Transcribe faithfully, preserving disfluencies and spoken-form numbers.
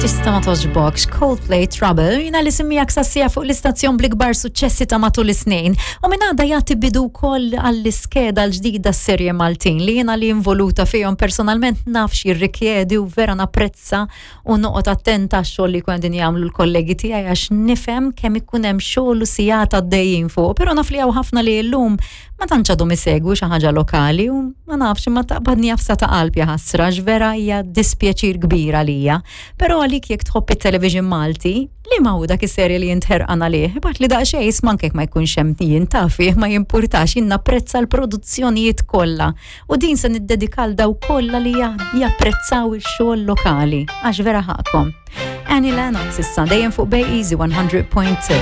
Tista ma togħġbokx, Coldplay, Trouble, jiena li semmijak sassija fuq l-istazzjon bl-ikbar suċċessi ta' matul is-snin. U minn għada jagħti bidu wkoll għall-iskeda l-ġdida serje Maltin li jiena li involuta fihom personalment naf x'jirrikjedi u vera napprezza u noqgħod attenta għax-xogħol li jkun qegħdin jagħmlu l-kollegi tiegħi, għax nifhem kemm ikun hemm xogħol u sigħat għaddejjin fuq, però naf li hawn ħafna li llum ma tantx għadhom isegwu xi ħaġa lokali u ma nafx, ma taqbadni għafsa ta' qalb, jaħasra, vera hija dispjaċir kbir għalija. Però għalik jekk tħobb it-television Malti, li ma hu dak is-serje li int ħerqan għalih, ibgħatli daqsxejn isma' ma jkunx hemm jien tafi, ma jimpurtax, jien napprezza l-produzzjonijiet kollha. U din se niddedika lil dawk kollha li japprezzaw ix-xogħol lokali, għax vera ħaqkom. Annie Lennox issa dejjem fuq Bay Easy one hundred point two.